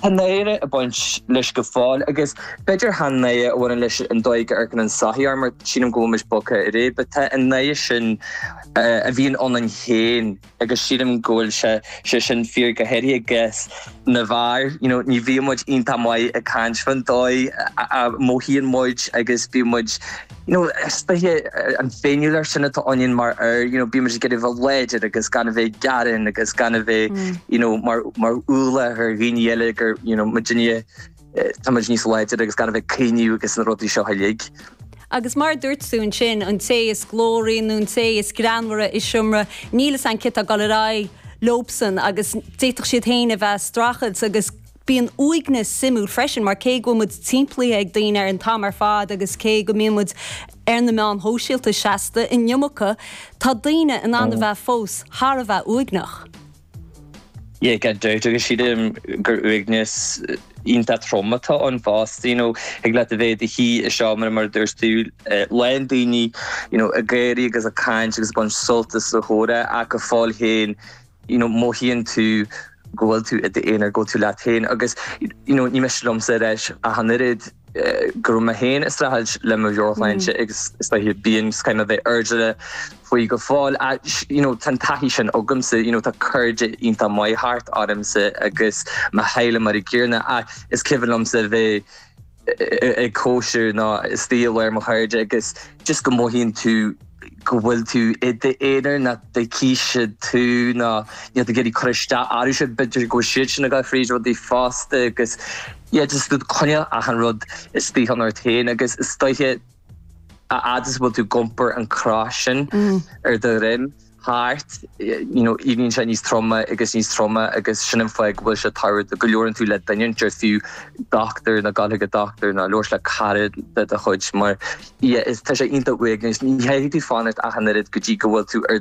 Tá náire ag baint leis go fóill agus b'fhéidir chan náire a bhaineann leis an dóigh go amharcann an tsochaí orainn mar sílim go bhfuil muid bogtha ar aghaidh but tá an náire sin a bhíonn ionainn féin agus sílim go bhfuil sé sé sin fíor go háirithe i gcás na bhfear you know ní bhíonn muid iontach maith ag caint fán dóigh a mothaíonn muid agus bíonn muid you know, is dóiche an féiniúlacht sin atá ionainn mar fhear, you know, bíonn muid ag iarraidh bheith láidir agus gan a bheith ag gearán agus gan a bheith, you know, mar, mar ualach ar dhaoine eile gur, you know, muidinne, tá muid níos láidre agus gan a bheith ag caoineadh agus na rudaí seo uilig. Agus mar a dúirt tú ansin, an té is glóraí nó an té is greannmhaire i seomra, níl fhios a'inn céard tá ag dul ar aghaidh leobsan agus d'fhéadfadh siad féin a bheith ag streachailt agus Bíonn uaigneas suimiúil freisin mar cé go bhfuil muid timpeallaithe ag daoine ar an t-am ar fad agus cé go mbíonn muid ar na meáin shóisialta seasta an iomarca, tá daoine in ann a bheith fós thar a bheith uaigneach. Yeah, gan dabht agus sílim gur uaigneas iontach trom atá ann fosta, you know, thig leat a bheith i do shuí i seomra mar a dúirt tú, lán daoine, you know, ag gáirí agus ag caint agus ag baint sult as an chomhrá ach go fóill féin, you know mothaíonn tú go bhfuil tú i d'aonar, go bhfuil tú leat féin agus you know ní miste liomsa a ráit ach an oiread go raibh mé féin ag streachailt le mo mheabhairshláinte agus is dóiche bíonn is caithfidh mé bheith airdeallach faoi go fóill ach you know tá an taithí sin agamsa you know tá cairde iontach maith thart ormsa agus mo theaghlach mar an gcéanna ach is cuimhin liomsa a bheith ag cóisir nó istigh i lár mo chairde agus just go mothaíonn tú go bhfuil tú i d'aonar nach dtuigfidh siad tú nó níl tú ag iarraidh cur isteach orthu siúd, b'fhéidir go bhfuil siad sin ag dul fríd rudaí fosta agus yeah just tú ag coinneáil achan rud istigh ionat féin agus is dóiche a fhad is a bhfuil tú ag iompar an cros sin ar do dhroim. thart, you know, éiríonn sé níos troime agus níos troime agus sin an fáth go bhfuil sé tábhachtach go labhrann tú le duine inteacht fiú dochtúir nó gabháil chuig an dochtúir nó labhairt le cara de do chuid mar yeah, is tá sé iontach uaigneach. Ní chaithfidh tú fanacht ach an oiread go dtí go bhfuil tú ar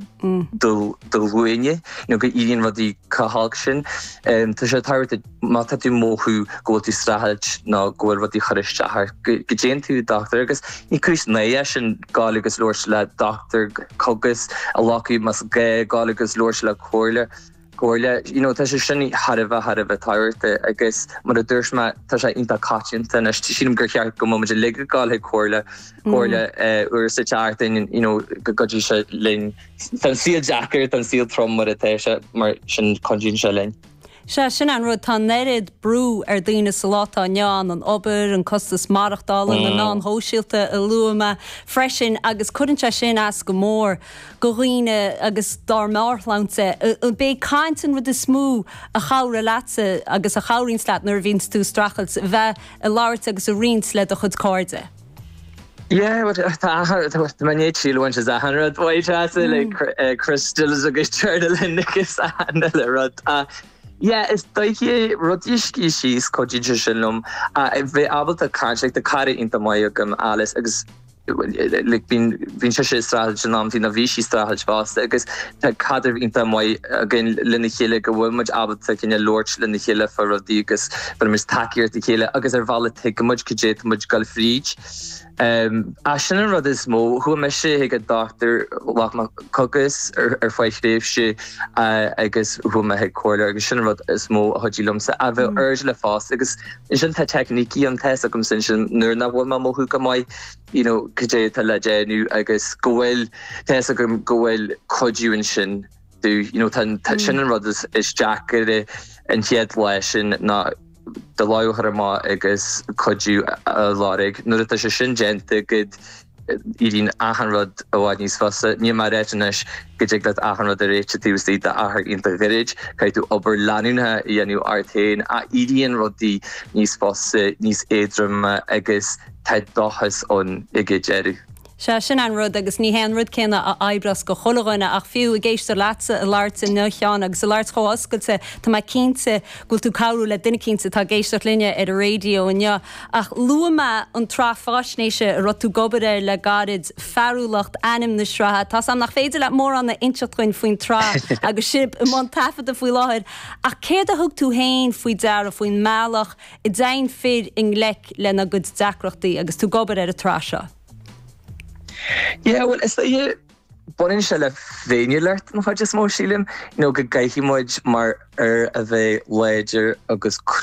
do do ghuailne, you know, go éiríonn rudaí chomh holc sin. Um, tá sé tábhachtach má tá tú ag mothú go bhfuil tú ag streachailt nó go bhfuil rudaí ag cur isteach ort, go dtéann tú dochtúir agus ní cúis náire é sin gabháil agus labhairt le dochtúir cogais a ghlacadh más gá, gabháil agus labhairt le comhairle, comhairle, you know tá sé sin thar a bheith, thar a bheith tábhachtach agus mar a dúirt mé tá sé iontach coitianta anois, sílim gur cheart go mbeadh muid uilig ag gabháil chuig comhairle, comhairle uair sa tseachtain, you know go gcuideoidh sé linn. Tá an saol deacair, tá an saol trom mar atá sé, mar sin cuidíonn sé linn. Sea, sin an rud, tá an oiread brú ar daoine sa lá atá inniu ann, an obair, an costas maireachtála, na meáin shóisialta a luaigh mé freisin, agus cuireann sé sin as go mór go dhaoine agus dár meabhairshláinte. B'é caint an rud is mó a chabhraigh leatsa agus a chabhraíonns leat nuair a bhíonns tú ag streachailt, bheith ag labhairt agus ag roinnt le do chuid cairde. Yeah, well, tá achan, tá mé i ndiaidh triail a bhaint as achan rud uait Treasa, like crystals agus journaling agus achan uile rud. Yeah, is dóiche rudaí a scríobh síos, cuidíonn sé sin liom. Bheith ábalta caint, like tá cara iontach maith agam, Alice, agus like bíonn, bíonn sise ag streachailt in amantaí nó bhí sí ag streachailt fosta agus tá caidreamh iontach maith againn lena chéile go bhfuil muid ábalta cineál labhairt lena chéile fá rudaí agus bheireann muid tacaíocht dá chéile agus ar bhealach tuigeann muid cad é atá muid ag dul fríd. Ach sin an rud is mó. Chuaigh mise chuig an dochtúir, ghlac mé cogas ar feadh thréimhse agus chuaigh mé chuig comhairleoir agus sin an rud is mó a chuidigh liomsa. A bheith airdeallach fosta agus ansin tá teicnící ann, tá fhios agamsa ansin nuair nach bhfuil mé ag mothú go maith, you know, cad é atá le déanamh agus go bhfuil, tá fhios agam go bhfuil cuidiú ansin domh, you know, tá, sin an rud is deacair an chéad lá sin ná, do lámh a chur amach agus cuidiú a lorg. Nuair atá sé sin déanta agat, éiríonn achan rud i bhfad níos fusa. Níl mé ag ráit anois go dtig leat achan rud a réiteach taobh istigh d'achar iontach gairid. Caithfidh tú obair leanúnach a dhéanamh ort féin ach éiríonn rudaí níos fusa, níos éadroime agus tá dóchas ann ag an deireadh. Sea, sin an rud, agus ní hé an rud céanna a oibreos go chuile dhuine, ach fiú ag éisteacht leatsa ag labhairt inniu, a Sheáin, agus ag labhairt chomh hoscailte, tá mé cinnte go bhfuil tú ag cabhrú le duine eicínt atá ag éisteacht linne ar an raidió inniu. Ach luaigh mé an tsraith faisnéise a raibh tú ag obair air le gairid, Fearúlacht ainm na sraithe. Tá's a'm nach féidir leat mórán a inseacht dhuinn faoin tsraith agus sibh i mbun taifeadta faoi láthair, ach céard a thug tú féin faoi deara faoin mbealach a dtéann fir i ngleic lena gcuid deacrachtaí agus tú ag obair ar an tsraith seo? Yeah, bhuel, is dóiche, Baineann sé le féiniúlacht an chuid is mó, sílim, you know, go gcaithfidh muid mar fhir a bheith láidir agus crua.